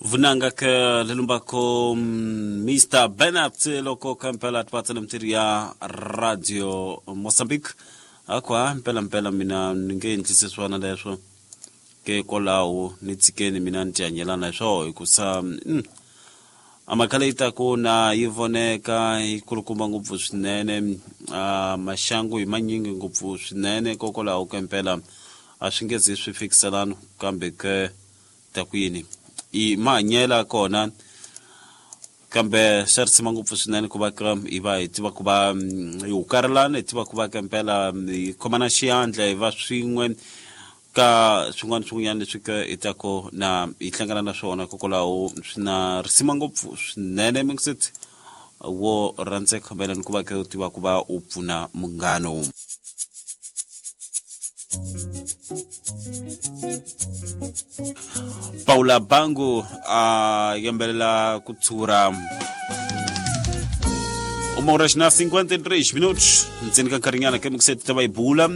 Vunanga ke lelumbako Mr Bernard loko kampela twatsana mtiri ya Radio Mozambique akwa mpela mpela mina ni nge endlisi swona leswo ke kwalaho ni tshikeni mina ni tihanyelana hi swoho hikusa a mhaka leyi taku na yi voneka yi kulukumba ngopfu swinene a maxangu hi manyingi ngopfu swinene kokwalaho ke mpela a swi nge zi swi fikiselana kambe ke ta ku yini i mahanyela kona kambe swa risima ngopfu swinene ku va ka hi va hi tiva ku va hi hukarelana hi tiva ku va ka mpela hi khomana xiyandla hi va swin'we ka swin'wana swin'wanyana leswi ka hi tako na hi hlangana na swona kokwalaho swi na risima ngopfu swinene mingiseti wo rhandzeka mayelana ku va ka u tiva ku va u pfuna munghano. Paula Bangu a yimbelela ku tshura uma hora na 53 minutos ntseni ka nkarhinyana ke mikuseti ta va yi bula.